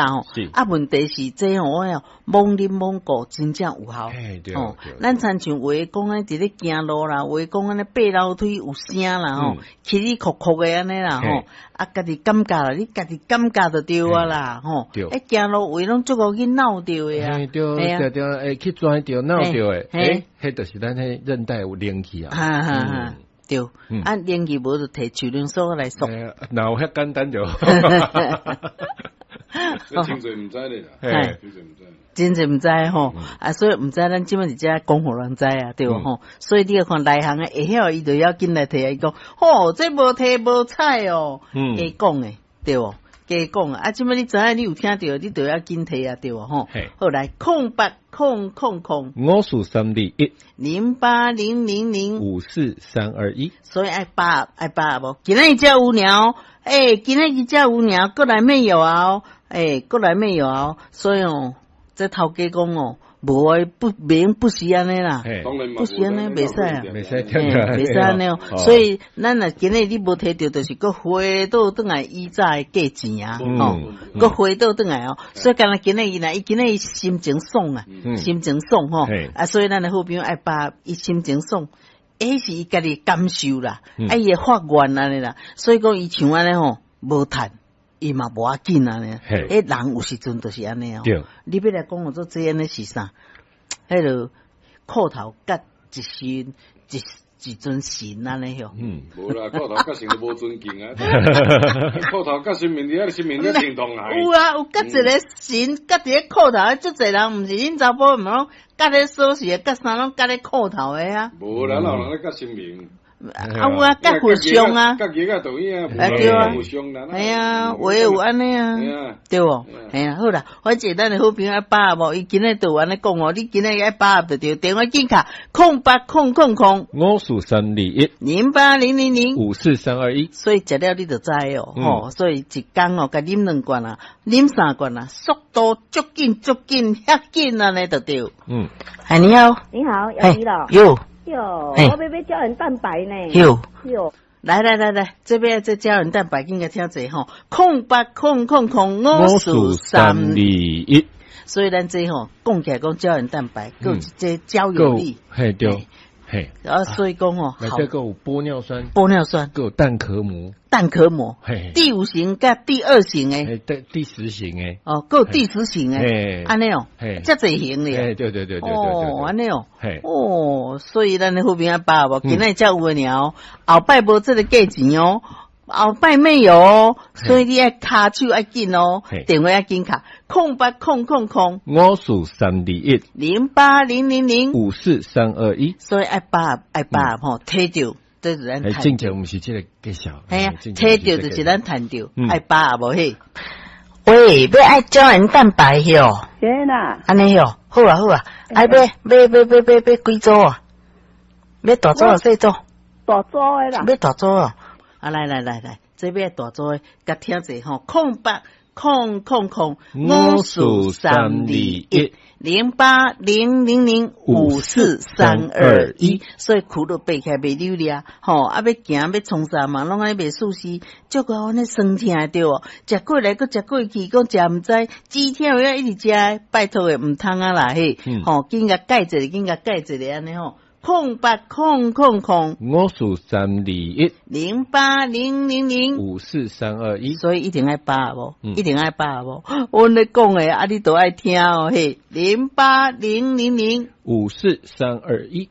吼。是。啊，問題是這吼，我哦，罔啉罔顧，真正有效。吼，咱親像有的講按呢佇咧行路啦，有的講按呢爬樓梯有聲啦吼，起起哭哭的按呢啦吼，啊，家己感覺啦，你家己感覺就對啊啦吼。欸，行路位攏足夠去鬧著的啊。對對，會去跩著鬧著的，欸，彼就是咱彼韌帶有連去啊。哈哈哈，對，啊，連去無就提樹奶素來索。若有遐簡單就。真濟毋知咧啦，真濟毋知。真濟毋知吼，啊，所以毋知咱這擺佇遮講予人知啊，對無吼？所以你看內行的會曉，伊就要緊來提啊，伊講，吼，這無提無彩哦，加講的，對無？加講啊，這擺你知影你有聽著，你就要緊提啊，對無吼？好來，080000 54321 08000 54321，所以愛把握愛把握無？今仔日才有爾，欸，今仔日才有爾，閣來沒有啊？欸，閣來沒有啊？所以哦，這頭家講哦，無愛不免不是按呢啦，不是按呢，袂使啊，袂使，袂使按呢哦。所以咱若今日你無提著，就是閣回倒轉來以早的價錢啊，吼，閣回倒轉來哦。所以敢若今日伊若伊今日心情爽啊，心情爽吼，啊，所以咱的好朋友愛把伊心情爽，彼是伊家己感受啦，啊，伊會發願按呢啦，所以講伊像按呢吼，無趁。伊嘛無要緊按呢，彼人有時陣就是按呢哦。你欲來講我做這按呢是啥？彼个褲頭佮一身一一尊神按呢喲。無啦，褲頭佮神都無尊敬啊。褲頭佮神明佇遐，神明咧認同來。有啊，有佮一个神，佮佇咧褲頭，足濟人毋是恁查埔毋攏佮咧鎖匙，佮啥攏佮咧褲頭的啊。無啦，哪有人咧佮神明？啊有啊，佮佛像啊，佮額仔倒影啊，對啊，佛像啦，係啊，有的有按呢啊，對無？係啊，好啦，反正咱的好朋友愛把握無，伊今日就有按呢講哦，你今日愛把握就對，電話緊敲080000 54321 08000 54321，所以食了你就知哦，吼，所以一工哦，共啉兩罐啊，啉三罐啊，速度足緊足緊，遐緊按呢就對。哎，你好，你好，姚怡老，喲。喲，我欲買膠原蛋白呢。喲喲，來來來來，這邊這膠原蛋白緊共聽者吼，0800054321。所以咱這吼講起來講膠原蛋白，閣有這膠有力，嘿對，嘿。啊，所以講吼，這個有玻尿酸，玻尿酸，閣有蛋殼膜，蛋殼膜，嘿，第五型佮第二型的，第10型的，哦，閣有第十型的，按呢哦，遮濟型的，對對對對對，哦，按呢哦，哦，所以咱的好朋友把握，今仔才有的爾，後擺無這个價錢哦，後擺沒有哦，所以你愛跤手愛緊哦，電話愛緊敲，0800 54321 08000 54321，所以愛把握愛把握吼，提著。這是咱正前毋是這个介紹，嘿啊，提著就是咱趁著，愛把握無嘿。喂，欲愛膠原蛋白喲？對啦。按呢喲，好啊好啊，愛買買買買買買幾組啊？欲大組啊細組？大組的啦。欲大組啊？啊來來來來，這欲大組的，共聽者吼，0800 54321 08000 54321，所以苦都爬起來袂溜掠，吼啊欲行欲創啥嘛，攏按呢袂舒適，足夠按呢酸疼對無？食過來閣食過去，講食毋知，止痛藥一直食，拜託的毋通啊啦嘿，吼緊共蓋一个，緊共蓋一个按呢吼。0800 54321 08000 54321，所以一定愛把握，一定愛把握。阮咧講的啊，你都愛聽哦嘿，08000 54321。